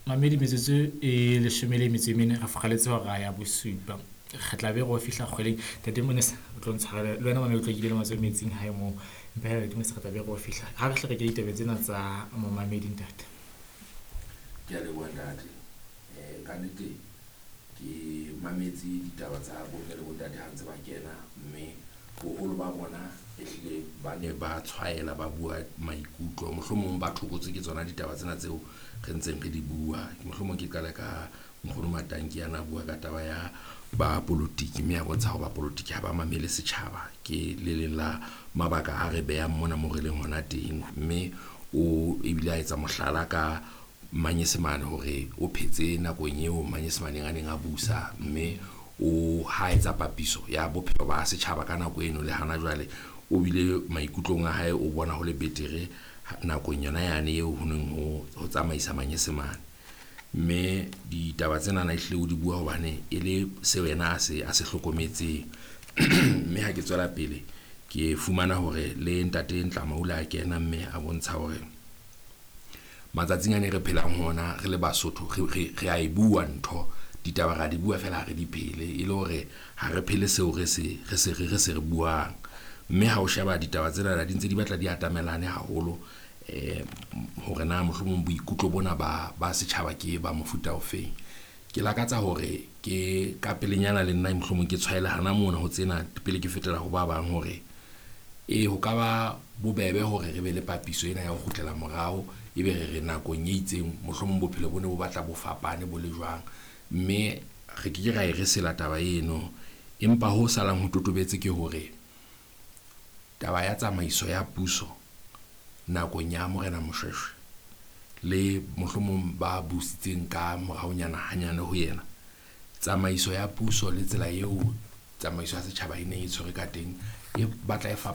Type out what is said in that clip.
Mamedi metsotso e 14 re furaletse hora ya bosupa. Re tla be re o fihla kgweleng. Ntate Monesa o tlo ntshwarela le wena mamedi o tlo kile le matsoho metsing hae moo. Empa hee Ntate Monesa re tla be re o fihla. Ha re hle re ke ditabeng tsena tsa momamedi ntate. Ke a leboha ntate. Ka nnete ke mametse ditaba tsa bomme le bontate ha ntse ba kena, mme boholo ba bona ehlile ba ne ba tshwaela ba bua maikutlo. Mohlomong ba thokotswe ke tsona ditaba tsena tseo re ntseng re di bua. Mohlomong ke qale ka nkgono Matanki ana a bua ka taba ya ba polotiki, mme a bontsha hore ba polotiki ha ba mamele setjhaba. Ke le leng la mabaka a re behang mona mo re leng hona teng, mme o ebile a etsa mohlala ka Manyesemane hore o phetse nakong eo Manyesemaneng a neng a busa, mme o ha etsa papiso ya bophelo ba setjhaba ka nako eno le hana jwale, o bile maikutlong a hae o bona ho le betere nakong yona yane eo ho neng ho tsamaisa Manyesemane. Mme ditaba tsenana ehlile o di bua hobane e le seo yena a se hlokometseng. Mme ha ke tswela pele ke fumana hore le ntate Ntlama o ile a kena mme a bontsha hore matsatsing a ne re phelang ho ona re le Basotho re a e bua ntho, ditaba ra di bua feela ha re di phele, e le hore ha re phele seo re se re se re se re buang. Mme ha o sheba ditaba tsena di ntse di batla di atamelane haholo, hore na mohlomong boikutlo bona ba setjhaba ke ba mofuta ofeng. Ke lakatsa hore ke ka pelenyana le nna mohlomong ke tshwaele hana mona ho tsena pele ke fetela ho ba bang hore e ho ka ba bobebe hore re be le papiso ena ya ho kgutlela morao, ebe re re nakong e itseng mohlomong bophelo bo ne bo batla bo fapane bo le jwang, mme re ke ke ra e re sela taba eno. Empa ho salang ho totobetse ke hore taba ya tsamaiso ya puso nakong ya Morena Moshoeshoe le mohlomong ba busitseng ka moraonyana hanyane ho yena, tsamaiso ya puso le tsela eo tsamaiso ya setjhaba e neng e tshwere ka teng e batla e fapana.